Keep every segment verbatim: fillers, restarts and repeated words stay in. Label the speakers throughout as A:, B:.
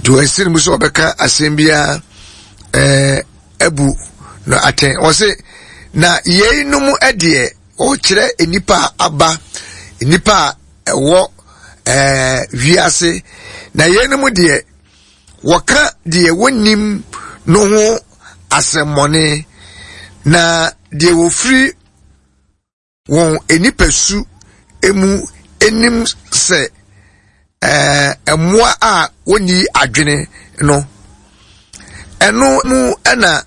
A: Nti wɔasi no mu sɛ ɔbɛka asɛm biara ɛɛ abu no atɛn. Wɔse na yeinom deɛ ɔkyerɛ nnipa a aba, nnipa a ɛwɔ ɛɛ wiase, na yeinom deɛ wɔka deɛ wɔnnim no ho asɛmmɔne, na deɛ wɔfiri wɔn nipasu mu nim sɛ ɛɛ mmoa a wɔnni adwene no, ɛno mu na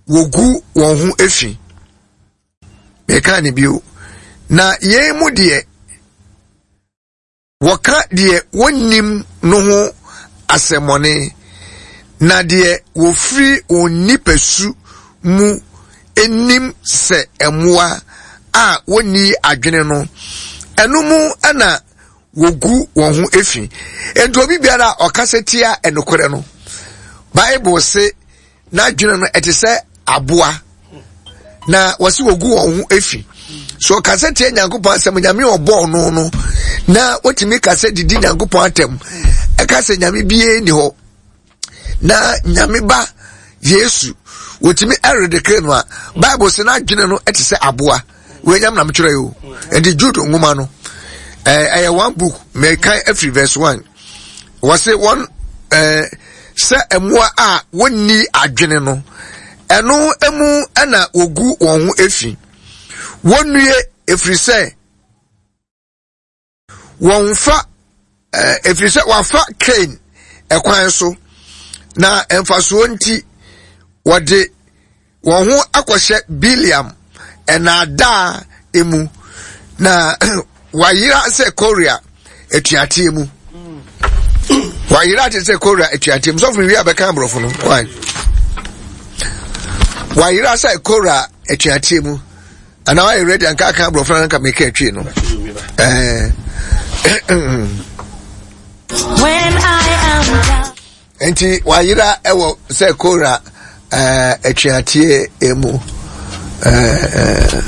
A: wɔgu wɔn ho fi. Meka ne bio. Na yɛn mu deɛ, Wɔka deɛ wɔnnim no ho asɛmmɔne, na deɛ wɔfiri wɔn nipasu mu nim sɛ mmoa a wɔnni adwene no, ɛno mu na wɔgu wɔn ho fi. Enti obi biara a ɔkasa tia nokorɛ no, Bible se n'adwene no ɛte sɛ aboa na wɔsi wɔgu wɔn ho efi so ɔkasa tia Nyankopɔn asɛm, Nyame ɔbɔɔ no no na wotumi kasa didi Nyankopɔn atɛm, ɛka sɛ Nyame bie ni hɔ na Nyame ba Yesu wotumi ɛredekere no a, Bible sɛ n'adwene no ɛte sɛ aboa. Wɔnyam na metwerɛ yi o. Nti Jude nwoma no ɛyɛ one book, mɛkan afiri verse one. Wɔse wɔn ɛɛ sɛ mmoa a wɔnni adwene no, ɛno mu na wɔgu wɔn ho efi. Wɔnnue, ɛfiri sɛ wɔmfa ɛɛ ɛfiri sɛ wɔafa Kain ɛkwan so, na mfasoɔ nti wɔde wɔn ho akɔhyɛ Bileam nnaadaa mu, na wayera sɛ Korea atuateɛ mu. Wayera te sɛ Korea atuateɛ mu. Sɔfo mi wi abɛka aborɔfo no. Why? Wayera sɛ Korea atuateɛ mu. Anaa wayɛ ready anka aka aborɔfo no anka meka atwi no. Ɛɛ.
B: When I am down.
A: Nti wayera ɛwɔ sɛ Kora ɛɛ atuateɛ mu. Ɛɛ.